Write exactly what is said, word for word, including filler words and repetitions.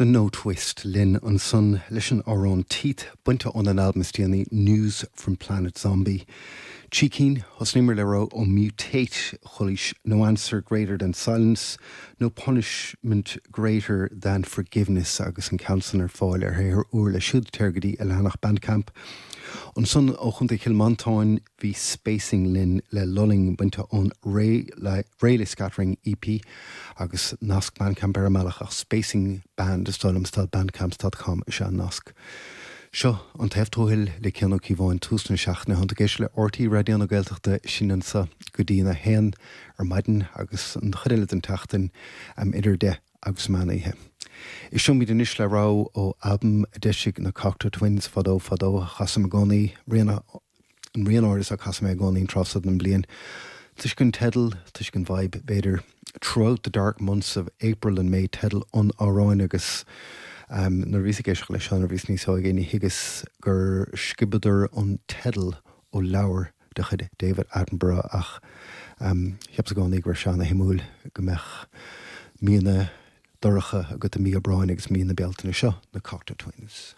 The Notwist linn ansan leis an amhrán Teeth bainte ón albam is déanaí News from Planet Zombie. Trí cinn thosnaíomar le rogha ó Mutate chualaís No Answer Greater Than Silence, No Punishment Greater Than Forgiveness agus an ceann san ar fáil ar shaothar úr leo siúd téir go dtí a leathanach Bandcamp. Ansan ó Chontae Chill Mhantáin bhí Spacing linn le Lulling bainte ón Rayleigh Scattering EP agus nasc Bandcamp ar an mbealach ach Spacing Band is bandcamp.com is ea an nasc. Seo an taobh tuathail le Cian Ó Cíobháin tús na seachtaine tá tú ag éisteacht le RTÉ Raidió na Gaeltachta sin anseo go dtí a haon ar maidin agus an chuid eile den tseachtain am idir deich agus meán oíche. Éistfimid anois le rogha ó albam a d'eisigh na Cocteau Twins fadó fadó chasaim i gcónaí rian an rian áirithe seo casaim i gcónaí an tráth seo den bliain. Toisc an teideal toisc an vibe b'fhéidir throughout the dark months of April and May teideal an amhráin agus um, nuair a bhíos ag éisteacht leis nuair a bhíos níos óige ní thuigeas gur sciobadar an teideal ó leabhar de chuid David Attenborough ach um, cheapas i gcónaí gur an-shuimiúil go mbeadh míonna dorcha agat i mí Aibreáin agus mí na Bealtaine seo na Cocteau Twins.